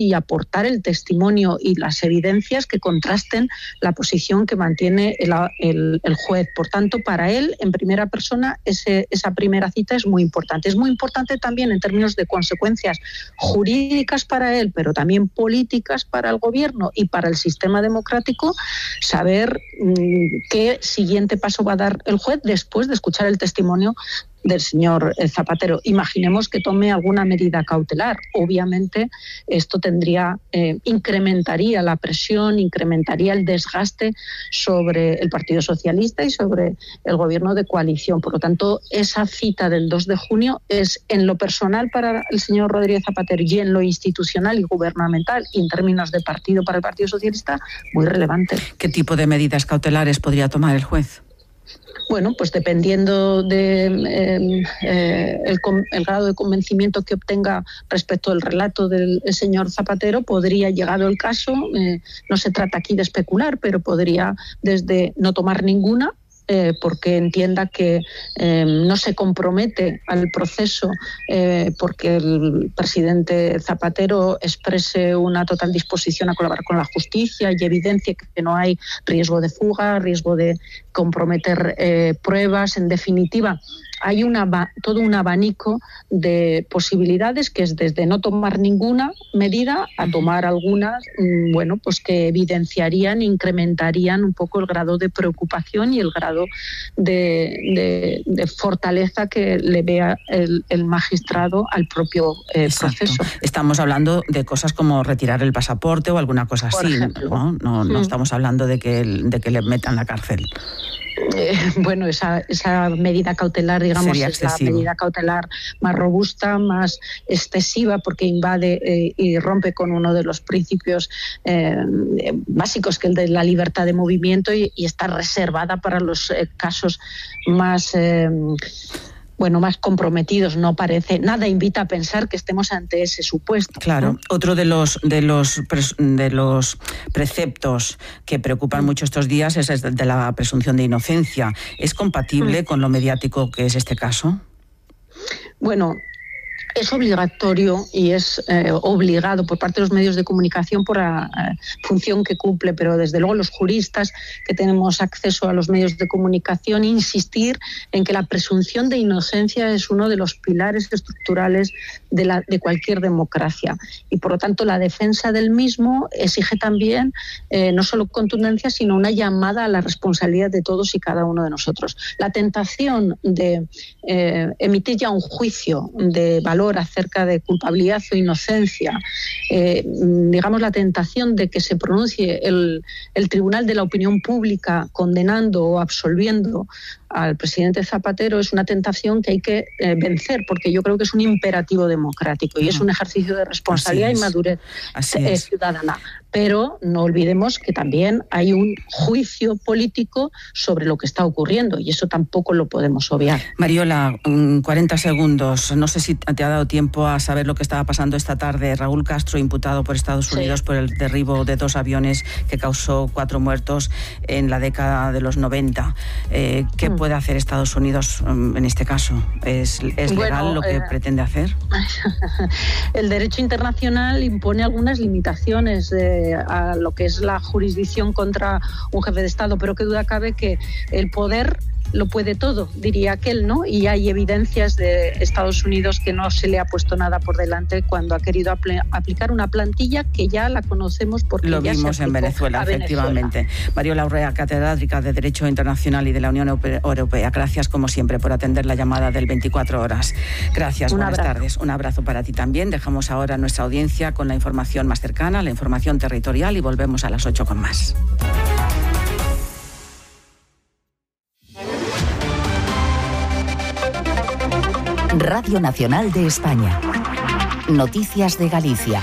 y aportar el testimonio y las evidencias que contrasten la posición que mantiene el juez. Por tanto, para él, en primera persona, esa primera cita es muy importante. Es muy importante también en términos de consecuencias jurídicas para él, pero también políticas para el gobierno y para el sistema democrático, saber qué siguiente paso va a dar el juez después de escuchar el testimonio del señor Zapatero. Imaginemos que tome alguna medida cautelar. Obviamente esto incrementaría la presión, incrementaría el desgaste sobre el Partido Socialista y sobre el gobierno de coalición. Por lo tanto, esa cita del 2 de junio es, en lo personal para el señor Rodríguez Zapatero y en lo institucional y gubernamental y en términos de partido para el Partido Socialista, muy relevante. ¿Qué tipo de medidas cautelares podría tomar el juez? Bueno, pues dependiendo de el grado de convencimiento que obtenga respecto al relato del señor Zapatero, podría, llegado el caso, no se trata aquí de especular, pero podría desde no tomar ninguna, porque entienda que no se compromete al proceso porque el presidente Zapatero exprese una total disposición a colaborar con la justicia y evidencia que no hay riesgo de fuga, riesgo de comprometer pruebas. En definitiva, hay todo un abanico de posibilidades que es desde no tomar ninguna medida a tomar algunas, pues que evidenciarían, incrementarían un poco el grado de preocupación y el grado de fortaleza que le vea el magistrado al propio proceso. Estamos hablando de cosas como retirar el pasaporte o alguna cosa así, no estamos hablando de que le metan la cárcel. Bueno, esa medida cautelar, digamos, es la medida cautelar más robusta, más excesiva, porque invade y rompe con uno de los principios básicos, que es el de la libertad de movimiento, y está reservada para los casos más más comprometidos. No parece, nada invita a pensar que estemos ante ese supuesto. Claro, ¿no? Otro de los preceptos que preocupan mucho estos días es el de la presunción de inocencia. ¿Es compatible con lo mediático que es este caso? Bueno, es obligatorio y es obligado por parte de los medios de comunicación por la función que cumple, pero desde luego los juristas que tenemos acceso a los medios de comunicación, insistir en que la presunción de inocencia es uno de los pilares estructurales de cualquier democracia, y por lo tanto la defensa del mismo exige también no solo contundencia, sino una llamada a la responsabilidad de todos y cada uno de nosotros. La tentación de emitir ya un juicio de valor acerca de culpabilidad o inocencia, digamos la tentación de que se pronuncie el tribunal de la opinión pública condenando o absolviendo al presidente Zapatero, es una tentación que hay que vencer, porque yo creo que es un imperativo democrático y es un ejercicio de responsabilidad y madurez ciudadana. Pero no olvidemos que también hay un juicio político sobre lo que está ocurriendo, y eso tampoco lo podemos obviar. Mariola, 40 segundos. No sé si te ha dado tiempo a saber lo que estaba pasando esta tarde. Raúl Castro, imputado por Estados Unidos por el derribo de 2 aviones que causó 4 muertos en la década de los 90. ¿Qué puede hacer Estados Unidos en este caso? ¿Es legal lo que pretende hacer? El derecho internacional impone algunas limitaciones a lo que es la jurisdicción contra un jefe de Estado, pero qué duda cabe que el poder lo puede todo, diría aquel, ¿no? Y hay evidencias de Estados Unidos que no se le ha puesto nada por delante cuando ha querido aplicar una plantilla que ya la conocemos porque lo ya vimos se en Venezuela, efectivamente. Mariola Urrea, catedrática de Derecho Internacional y de la Unión Europea. Gracias, como siempre, por atender la llamada del 24 horas. Gracias, buenas tardes. Un abrazo para ti también. Dejamos ahora a nuestra audiencia con la información más cercana, la información territorial, y volvemos a las 8 con más. Radio Nacional de España. Noticias de Galicia.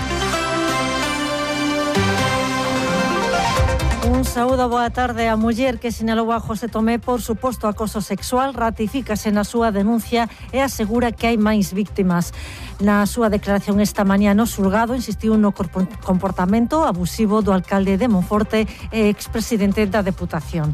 Un saúdo, boa tarde. A muller que sinalou a José Tomé por suposto acoso sexual ratifícase na súa denuncia e asegura que hai máis víctimas. Na súa declaración esta mañá no xulgado insistiu no comportamento abusivo do alcalde de Monforte e expresidente da Deputación.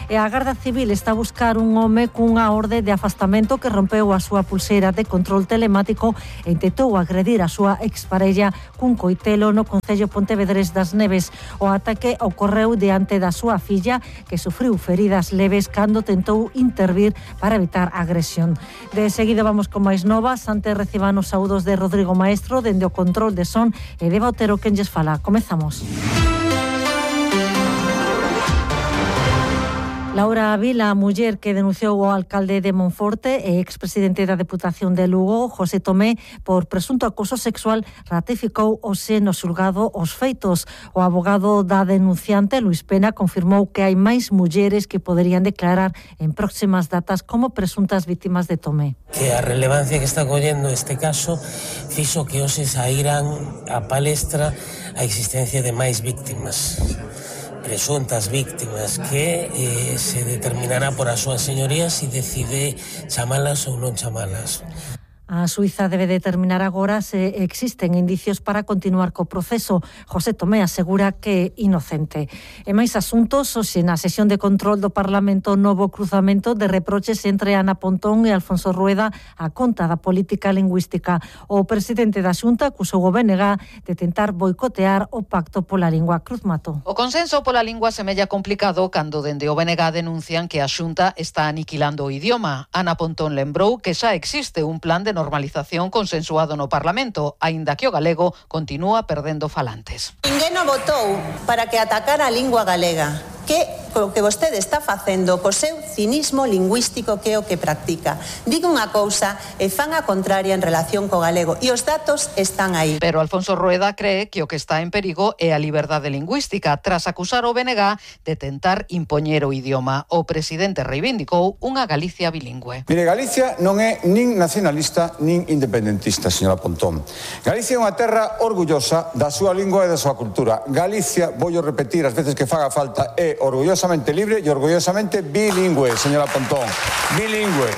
E a Garda Civil está a buscar un home cunha orde de afastamento que rompeu a súa pulseira de control telemático e intentou agredir a súa exparella cun coitelo no concello pontevedrés das Neves. O ataque ocorreu diante da súa filla, que sufriu feridas leves cando tentou intervir para evitar agresión. De seguida vamos con máis novas. Antes reciban os saúdos de Rodrigo Maestro dende o control de son e de Otero quen lles fala. Comezamos. Laura Vila, a muller que denunciou o alcalde de Monforte e expresidente da Deputación de Lugo, José Tomé, por presunto acoso sexual, ratificou hoxe no xulgado os feitos. O abogado da denunciante, Luis Pena, confirmou que hai máis mulleres que poderían declarar en próximas datas como presuntas vítimas de Tomé. Que a relevancia que está collendo este caso fixo que hoxe saíran a palestra a existencia de máis víctimas, presuntas víctimas, que se determinará por as súas señorías se decide chamalas ou non chamalas. A Suiza debe determinar agora se existen indicios para continuar co proceso. José Tomé asegura que é inocente. E máis asuntos, hoxe na sesión de control do Parlamento, novo cruzamento de reproches entre Ana Pontón e Alfonso Rueda a conta da política lingüística. O presidente da Xunta acusou o BNG de tentar boicotear o pacto pola lingua. Cruz Mato. O consenso pola lingua semella complicado cando dende o BNG denuncian que a Xunta está aniquilando o idioma. Ana Pontón lembrou que xa existe un plan de normalización consensuado no Parlamento, aínda que o galego continúa perdendo falantes. Ninguén o votou para que atacara a lingua galega. Que o que vostede está facendo co seu cinismo lingüístico, que é o que practica. Diga unha cousa e fan a contraria en relación co galego, e os datos están aí. Pero Alfonso Rueda cree que o que está en perigo é a liberdade lingüística, tras acusar o BNG de tentar impoñer o idioma. O presidente reivindicou unha Galicia bilingüe. Mire, Galicia non é nin nacionalista nin independentista, señora Pontón. Galicia é unha terra orgullosa da súa lingua e da súa cultura. Galicia, vou repetir as veces que faga falta, é orgullosamente libre e orgullosamente bilingüe, señora Pontón. Bilingüe.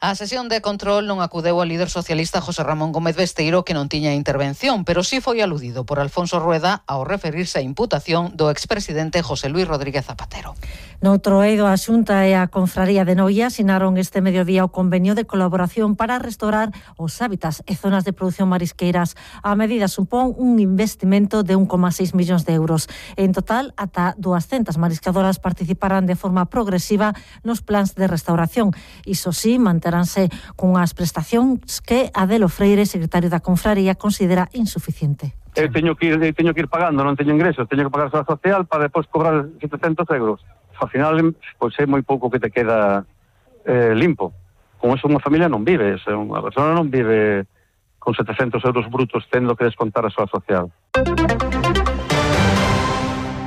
A sesión de control non acudeu ao líder socialista José Ramón Gómez Besteiro, que non tiña intervención, pero sí foi aludido por Alfonso Rueda ao referirse á imputación do expresidente José Luis Rodríguez Zapatero. Noutro eido, a Xunta e a Confraría de Noia asinaron este mediodía o convenio de colaboración para restaurar os hábitats e zonas de produción marisqueiras. A medida supón un investimento de 1,6 millóns de euros. En total, ata 200 mariscadoras participarán de forma progresiva nos plans de restauración. Iso sí, manteránse cunhas prestacións que Adelo Freire, secretario da Confraría, considera insuficiente. Eu teño que ir pagando, non teño ingresos, teño que pagar a Seguridade Social para depois cobrar 700 euros. Ao final, pois é moi pouco que te queda limpo. Con eso unha familia non vive, unha persona non vive con 700 euros brutos tendo que descontar a Seguridade Social.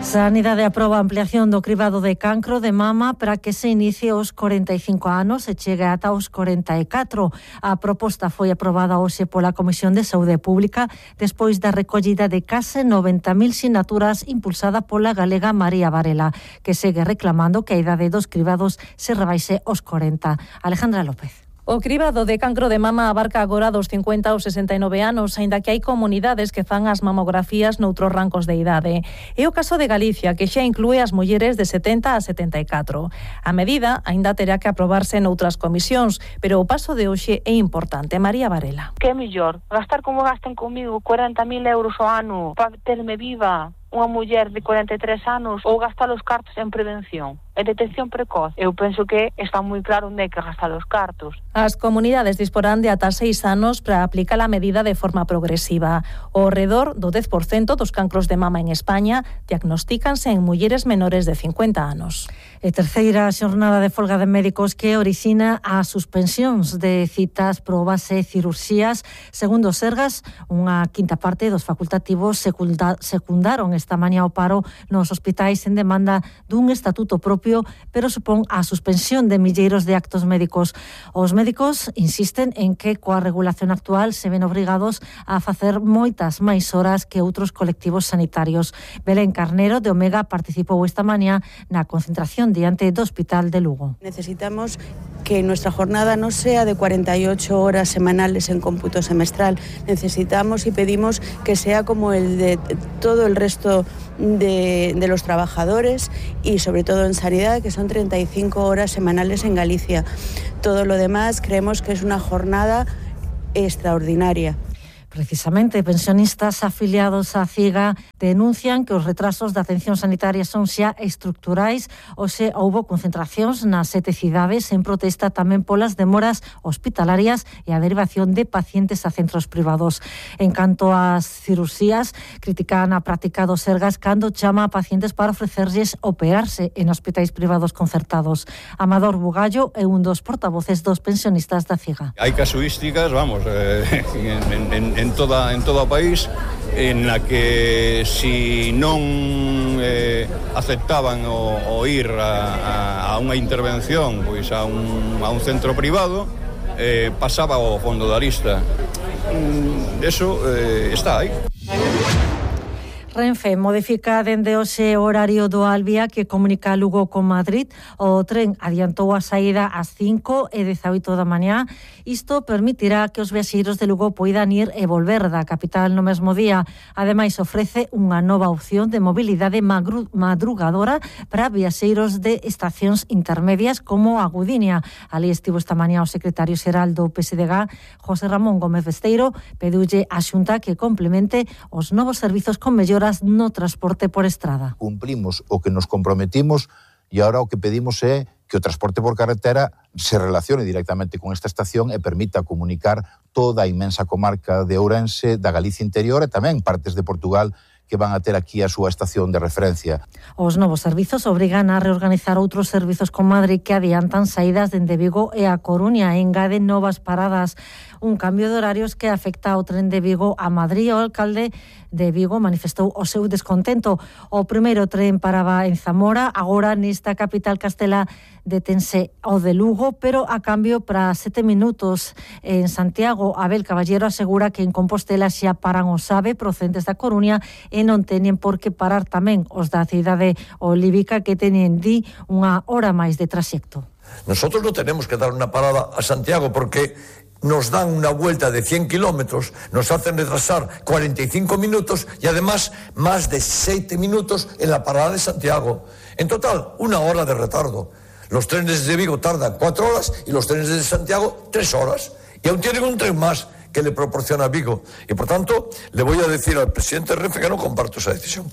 Sanidade aproba a ampliación do cribado de cancro de mama para que se inicie aos 45 anos e chegue ata os 44. A proposta foi aprobada hoxe pola Comisión de Saúde Pública despois da recollida de case 90.000 sinaturas impulsada pola galega María Varela, que segue reclamando que a idade dos cribados se rebaixe aos 40. Alejandra López. O cribado de cancro de mama abarca agora dos 50 aos 69 anos, aínda que hai comunidades que fan as mamografías noutros rancos de idade. É o caso de Galicia, que xa inclúe as mulleres de 70 a 74. A medida aínda terá que aprobarse noutras comisións, pero o paso de hoxe é importante. María Varela. Que é mellor? Gastar como gasten comigo 40.000 euros ao ano para terme viva unha muller de 43 anos ou gastar os cartos en prevención e detección precoz? Eu penso que está moi claro onde hai que gastar os cartos. As comunidades disporán de ata 6 anos para aplicar a medida de forma progresiva. O redor do 10% dos cancros de mama en España diagnostícanse en mulleres menores de 50 anos. E terceira xornada de folga de médicos que orixina as suspensións de citas, probas e cirurxías. Segundo Sergas, unha quinta parte dos facultativos secundaron esta mañá o paro nos hospitais en demanda dun estatuto propio, pero supón a suspensión de milleiros de actos médicos. Os médicos insisten en que coa regulación actual se ven obrigados a facer moitas máis horas que outros colectivos sanitarios. Belén Carnero, de Omega, participou esta mañá na concentración diante do Hospital de Lugo. Necesitamos que nuestra jornada no sea de 48 horas semanales en cómputo semestral. Necesitamos y pedimos que sea como el de todo el resto resto de los trabajadores y sobre todo en sanidad, que son 35 horas semanales en Galicia. Todo lo demás creemos que es una jornada extraordinaria. Precisamente, pensionistas afiliados á CIGA denuncian que os retrasos da atención sanitaria son xa estructurais, ou se houbo concentracións nas 7 cidades en protesta tamén polas demoras hospitalarias e a derivación de pacientes a centros privados. En canto ás cirurxías, critican a práctica dos Sergas cando chama a pacientes para ofrecerlles operarse en hospitais privados concertados. Amador Bugallo é un dos portavoces dos pensionistas da CIGA. Hai casuísticas, vamos, en todo o país en la que si non aceptaban o ir a unha intervención pois a un centro privado, pasaba ao fondo da lista. Eso está aí. Renfe modifica dende hoxe o horario do Alvia que comunica Lugo con Madrid. O tren adiantou a saída ás 5:18 da mañá. Isto permitirá que os viaxeiros de Lugo poidan ir e volver da capital no mesmo día. Ademais, ofrece unha nova opción de mobilidade madrugadora para viaxeiros de estacións intermedias como a Gudiña. Ali estivo esta mañá o secretario xeral do PSDG, José Ramón Gómez Besteiro, pediulle á Xunta que complemente os novos servizos con melloras no transporte por estrada. Cumplimos o que nos comprometimos e agora o que pedimos é que o transporte por carretera se relacione directamente con esta estación e permita comunicar toda a inmensa comarca de Ourense, da Galicia interior e tamén partes de Portugal que van a ter aquí a súa estación de referencia. Os novos servizos obrigan a reorganizar outros servizos con Madrid que adiantan saídas dende Vigo e a Coruña e engaden novas paradas. Un cambio de horarios que afecta ao tren de Vigo a Madrid. O alcalde de Vigo manifestou o seu descontento. O primeiro tren paraba en Zamora, agora nesta capital castelá detense o de Lugo, pero a cambio para 7 minutos en Santiago. Abel Caballero asegura que en Compostela xa paran os AVE procedentes da Coruña e non teñen por que parar tamén os da cidade olívica que teñen unha hora máis de traxecto. Nosotros no tenemos que dar una parada a Santiago porque nos dan una vuelta de 100 kilómetros, nos hacen retrasar 45 minutos y además más de 7 minutos en la parada de Santiago. En total, 1 hora de retardo. Los trenes de Vigo tardan 4 horas y los trenes de Santiago 3 horas. Y aún tienen un tren más que le proporciona Vigo. Y por tanto, le voy a decir al presidente Renfe que no comparto esa decisión.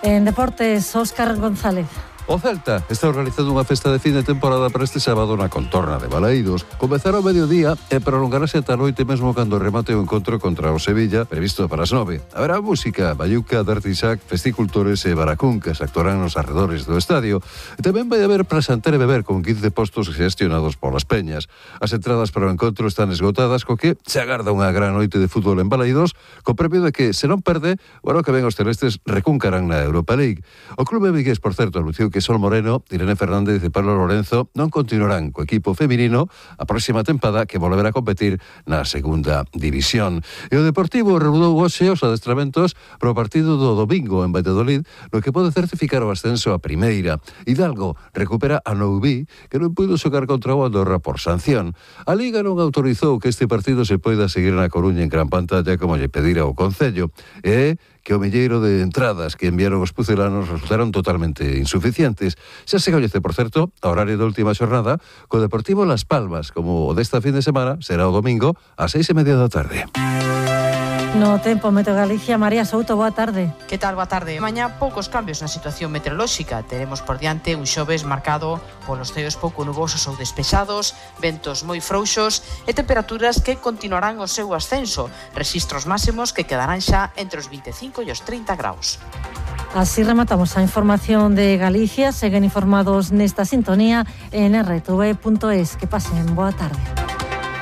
En deportes, Óscar González. O Celta está organizando unha festa de fin de temporada para este sábado na contorna de Balaídos. Comezará ao mediodía e prolongarase ata a noite mesmo cando remate o encontro contra o Sevilla, previsto para as 9. Haberá música, baiuca, dartisac, festicultores e baracúncas actuarán nos arredores do estadio. E tamén vai haber prasanter e beber con 15 postos gestionados polas peñas. As entradas para o encontro están esgotadas, co que se agarda unha gran noite de fútbol en Balaídos, co premio de que, se non perde, o ano que ven os celestes recuncarán na Europa League. O clube vigués, por certo, anunciou que Sol Moreno, Irene Fernández e Pablo Lorenzo non continuarán co equipo feminino a próxima tempada que volverá a competir na segunda división. E o Deportivo reanudou hoxe os adestramentos para o partido do domingo en Valladolid, no que pode certificar o ascenso a primeira. Hidalgo recupera a Noubí, que non puido xogar contra o Andorra por sanción. A Liga non autorizou que este partido se poida seguir na Coruña en gran pantalla como lle pedira o Concello. E que o milleiro de entradas que enviaron os pucelanos resultaron totalmente insuficientes. Xa se coñece, por certo, a horario da última xornada, co Deportivo Las Palmas, como o desta fin de semana, será o domingo ás 6:30 da tarde. No tempo, Meteo Galicia, María Souto, boa tarde. Que tal, boa tarde? Mañá poucos cambios na situación meteorolóxica. Teremos por diante un xoves marcado polos ceos pouco nubosos ou despexados, ventos moi frouxos e temperaturas que continuarán o seu ascenso, rexistros máximos que quedarán xa entre os 25 e os 30 graus. Así rematamos a información de Galicia. Seguen informados nesta sintonía en rtv.es. Que pasen boa tarde.